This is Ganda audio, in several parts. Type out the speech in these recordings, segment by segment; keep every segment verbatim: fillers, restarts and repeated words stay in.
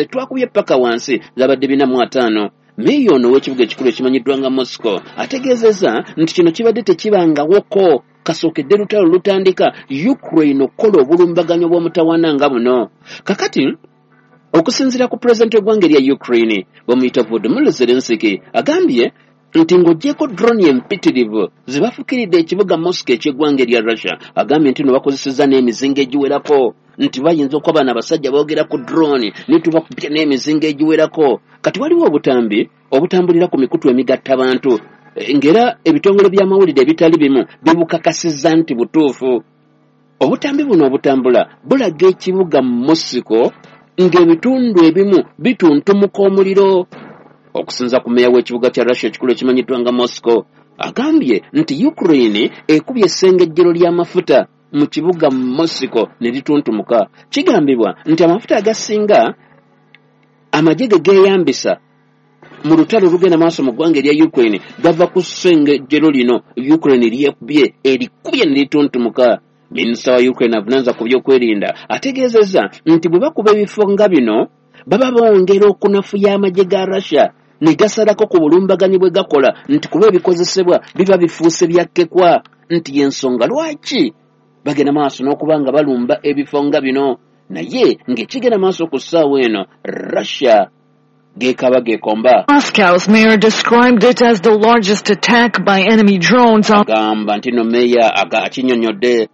Twakubye paka wansi zabadde bina mu ataano. Meeya ono ow'ekibuga ekikulu ekimanyiddwa nga Moscow ategeezezza nti kino kibadde tekibangawoko kasookedde lutalo lutandika Ukraine okukola obulumbaganyo bw'omutawaana nga buno. Kakati okusinziira ku pulezidenti w'eggwanga erya Ukraine bamuyita Volodymyr Zelensky agambye nti ng'oggyeko drone empitirivu zibafukiridde ekibuga Moscow eky'eggwanga erya Russia, agambye nti no bakozesezza n'emizinga egiwerako, nti bayinza okuba bano abasajja boogera ku drone ne tubakubye n'emizinga egiwerako. Kati waliwo obutambi obutambulira ku mikutu emigattabantu ng'era ebitongole by'amawulire ebitali bimu bibukakasizza nti butuufu. Obutambi buno obutambula bulaga ekibuga Moscow ng'ebitundu ebimu bituntumuka omuliro. Okusinza ku meeya w'ekibuga kya Russia ekikulu ekimanyiddwa nga Moscow agambye nti Ukraine ekubye essengejjero ly'amafuta mu kibuga Moscow ne lituntumuka. Kigambibwa nti amafuta agasinga amagye ge geeyambisa mu lutalo olugenda maaso mu ggwanga erya Ukraine gava ku ssengejjero lino Ukraine lyekubye erikubye ne lituntumuka. Minisita wa Ukraine avunaanyizibwa ku byokwerinda ategeezezza nti bwe bakuba ebifo nga bino baba bongera okunafuya amagye ga Russia ne gasalako ku bulumbaganyi bwe gakola, nti kuba ebikozesebwa biba bifuuse byakkekwa, nti y'ensonga lwaki bagenda maaso n'okuba nga balumba ebifo nga bino. Naye ng'ekigenda maaso ku ssaawa eno Russia geekaba geekomba. Moscow's mayor described it as the largest attack by enemy drones on Agamba nti no meeya akinnyonnyodde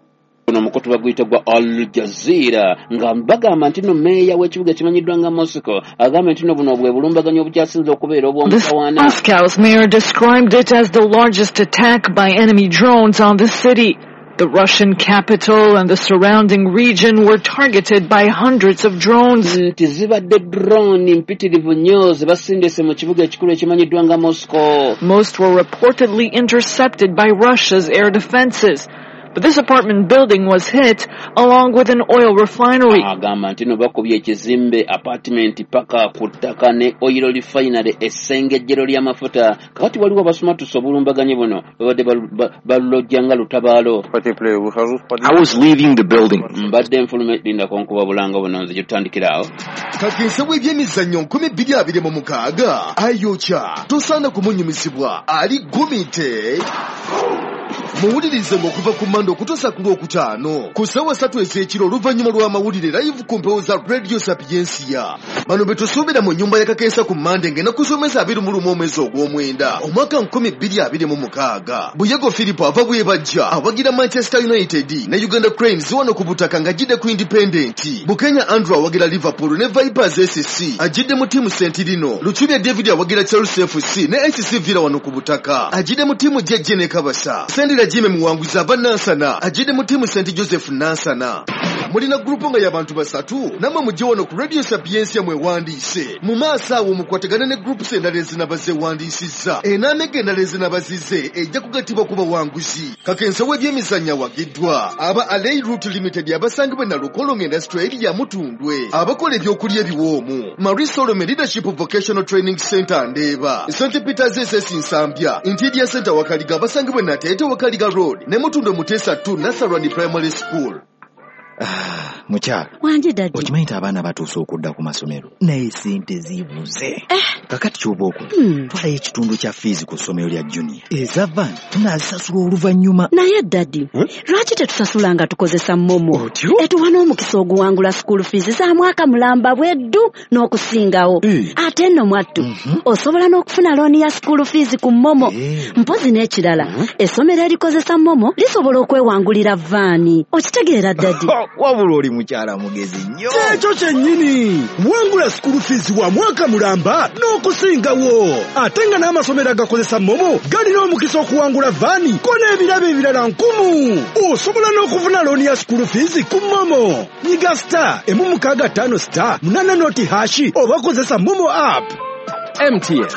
ono omukutu baguyita gwa Al Jazeera nga bagamba nti no meeya w'ekibuga ekimanyiddwa nga Moscow agambye nti no buno bwe bulumbaganyi obukyasinze okubeera obw'omutawaana. Moscow's mayor described it as the largest attack by enemy drones on the city. The Russian capital and the surrounding region were targeted by hundreds of drones. Nti zibadde drone mpitirivu nnyo ze basindise mu kibuga ekikulu ekimanyiddwa nga Moscow. Most were reportedly intercepted by Russia's air defenses. But this apartment building was hit along with an oil refinery. Agamba nti no bakubye ekizimbe apartment paka ku ttaka ne oil refinery essengejjero ly'amafuta. Kakati waliwo abasumatusa obulumbaganyi buno babadde balulojja nga lutabaalo. I was leaving the building. Mbadde nfulume lindako nkuba bulanga buno nze gye tutandikira awo. Kakensa w'ebyemizannyo nkumi bbiri abiri mu mukaaga ayokya tosaana kumunyumizibwa ali gumite. Muwulirize ng'okuva ku Mande okutuusa ku Lwokutaano ku ssaawa ssatu ez'ekiro oluvannyuma lw'amawulire live ku mpewo za Radio Sapiensia. Bano be tusuubira mu nnyumba ya Kakensa ku Mande ng'ennaku z'omwezi abiri mu lumu omwezi ogw'omwenda omwaka nkumi bbiri abiri mu mukaaga. Buyego Philip ava Bwebajja awagira Manchester United ne Uganda Cranes wano ku butaka ng'ajjidde ku Independent. Bukenya Andrew awagira Liverpool ne Vipers S C ajjidde mu ttiimu Sentirino. Luchubya David awagira Chelsea F C ne S C Villa wano ku butaka ajjidde mu ttiimu J J ne Kabasa. Sendira Jimmy Muwanguzi ava Nansana ajjidde mu ttiimu Saint Joseph Nansana. Mulina gurupu nga y'abantu basatu nammwe mujje wano ku Radio Sapiensia mwewandiise. Mu maaso awo mukwatagane ne groups endala ezinaba zeewandiisizza. Enaamega endala ezinaba zizze ejja kugattibwa ku bawanguzi. Kakensa w'ebyemizannyo awagiddwa aba Alei Route Limited abasangibwa e Nalukolongo Industrial Area Mutundwe abakola ebyokulya ebiwoomu. Marie Solome Leadership Vocational Training Center Ndeeba, Saint Peters S S Nsambya, Interior Center Wakaliga abasangibwa e Nateete Wakaliga Road ne Mutundwe Muteesa two Nasarani Primary School. Mukyala Wanje daddy. Okimanyi nti abaana batuuse okudda ku masomero naye sente zibuze. Kakati kyoba okola, Hmm. twalayo ekitundu kya fiizi ku ssomero lya Junior, eza van tunaazisasula oluvannyuma. Naye daddy, lwaki tetusasula nga tukozesa MoMo? Otyo? Etuwa n'omukisa oguwangula school fees za mwaka mulamba bweddu n'okusingawo. Eh. Ate nno mwattu osobola n'okufuna looni ya school fees ku MoMo. Eh. Mpozi n'ekirala, essomero erikozesa MoMo lisobola okwewangulira vaani. Okitegeera, daddy? Wabula oli mukyala mugezi nnyo. Kyekyo kyennyini, wangula school fees wa mwaka mulamba n'okusingawo, ate nga n'amasomero agakozesa MoMo galina omukisa okuwangula vaani ko n'ebirabo ebirala nkumu. Osobola n'okufuna looni ya school fees ku MoMo. Nyiga star emu mukaaga ttaano star munana noti hash oba kozesa MoMo app. M T N.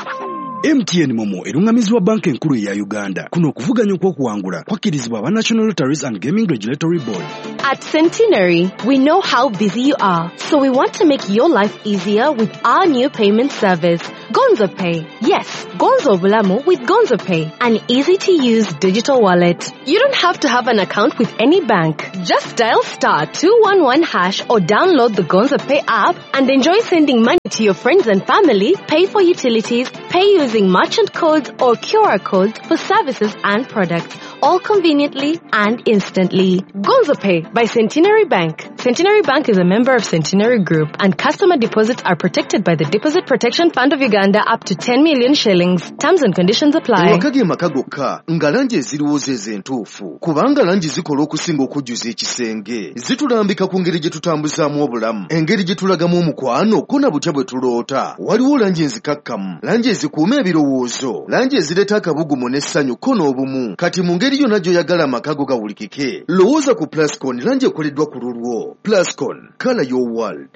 M T N MoMo eruŋŋamizibwa Banka Enkulu eya Uganda. Kuno okuvuganya okw'okuwangula kwakkirizibwa aba National Lotteries and Gaming Regulatory Board. At Centenary, we know how busy you are, so we want to make your life easier with our new payment service, Gonzo Pay. Yes, Gonzo Obulamu with Gonzo Pay, an easy-to-use digital wallet. You don't have to have an account with any bank. Just dial star two one one hash or download the Gonzo Pay app and enjoy sending money to your friends and family, pay for utilities, pay using merchant codes or Q R codes for services and products, all conveniently and instantly. Gonzo Pay by Centenary Bank. Centenary Bank is a member of Centenary Group, and customer deposits are protected by the Deposit Protection Fund of Uganda up to ten million shillings. Terms and conditions apply. Ewaka ge maka gokka nga langi eziriwo ze entuufu, kubanga langi zikola okusinga okujjuza ekisenge. Zitulambika ku ngeri gye tutambuzaamu obulamu, engeri gye tulagamu omukwano, ko na butya bwe tuloota. Waliwo langi enzikakkamu, langi ezikuuma ebirowoozo, langi ezireeta akabugumu n'essanyu ko n'obumu. Kati mu ngeri yonna gy'oyagala amaka go gawulikike, lowooza ku Plascon, langi ekoleddwa ku lulwo. Plascon, color your world.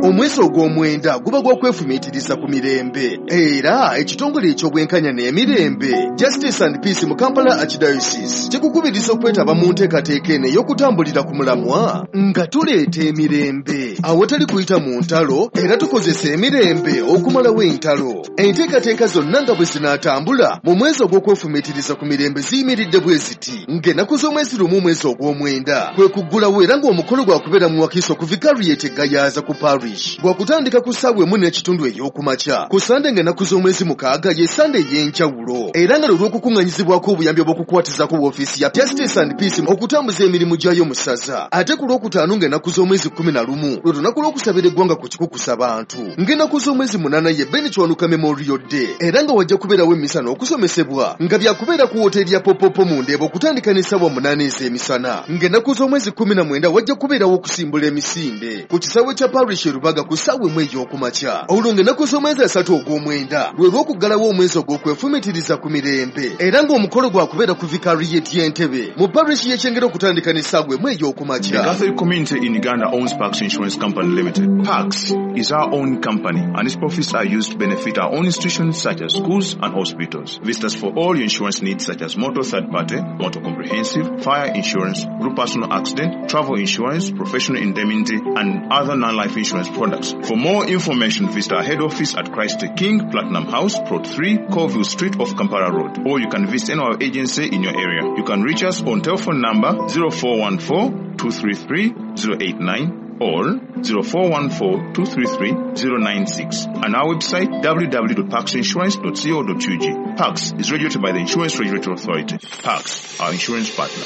Omwezi ogw'omwenda guba gwa kwefumiitiriza ku mirembe, era ekitongole eky'obwenkanya n'emirembe Justice and Peace mu Kampala Archdiocese kikukubiriza okwetaba mu nteekateeka eno ey'okutambulira ku mulamwa nga tuleeta emirembe awatali kuyita mu ntalo, era tukozesa emirembe okumalawo entalo. Enteekateeka zonna nga bwe zinaatambula mu mwezi ogw'okwefumiitiriza ku mirembe ziyimiridde bwe ziti: ng'ennaku z'omwezi lumu omwezi ogw'omwenda kwe kuggulawo, era ng'omukolo gwakubeera mu Wakiso ku Vicariate Gayaza ku Parish, gwakutandika ku ssaawa emu n'ekitundu ey'okumakya. Ku Sande ng'ennaku z'omwezi mukaaga ye Sande ey'enjawulo, era nga lwe lw'okukuŋŋanyizibwako obuyambi obw'okukwatizako woofiisi ya Justice and Peace okutambuza emirimu gyayo mu ssaza. Ate ku lwokutaano ng'ennaku z'omwezi kkumi na lumu lwe lunaku lw'okusabira eggwanga ku kikukusa bantu. Ng'ennaku z'omwezi munaana ye Ben Kiwanuka Memorial Day, era nga wajja kubeerawo emmisa n'okusomesebwa nga byakubeera ku wooteeri ya Popopo mu Ndeeba okutandika n'essaawa munaana ez'emisana. Ng'ennaku z'omwezi kkumi na mwenda wajja kubeerawo okusimbula emisinde ku kisaawe kya Parish Rubaga ku ssaawa emu ey'okumakya. Olwo ng'ennaku z'omwezi asatu ogw'omwenda lwe lw'okuggalawo omwezi ogw'okwefumiitiriza ku mirembe, era ng'omukolo gwakubeera ku Vicariate y'Entebe mu parish y'e Kyengera okutandika n'essaawa emu ey'okumakya. The Catholic community in Uganda owns Pax Insurance Company Limited. Pax is our own company, and its profits are used to benefit our own institutions such as schools and hospitals. Visit us for all your insurance needs such as motor third party, motor comprehensive, fire insurance, group personal accident, travel insurance, professional indemnity, and other non-life insurance products. For more information, visit our head office at Christ the King, Platinum House, Plot three, Colville Street off Kampala Road, or you can visit any our agency in your area. You can reach us on telephone number zero four one four, two three three, zero eight nine or zero four one four, two three three, zero nine six, and our website w w w dot pax insurance dot co dot u g. Pax is regulated by the Insurance Regulatory Authority. Pax, our insurance partner.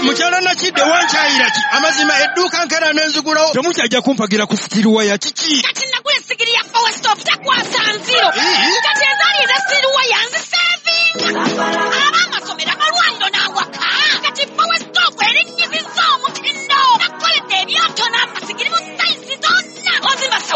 Mukyala Nakidde wankyayira ki? Amazima edduuka nkera n'enzigulawo. Temukyajja kumpagira ku sitiruwaya kiki? Kati nagula essigiri ya Power Stop takwasa nziro. Kati ezaali eza sitiruwaya nzisevinga. Ab'amasomero, amalwaliro n'awaka.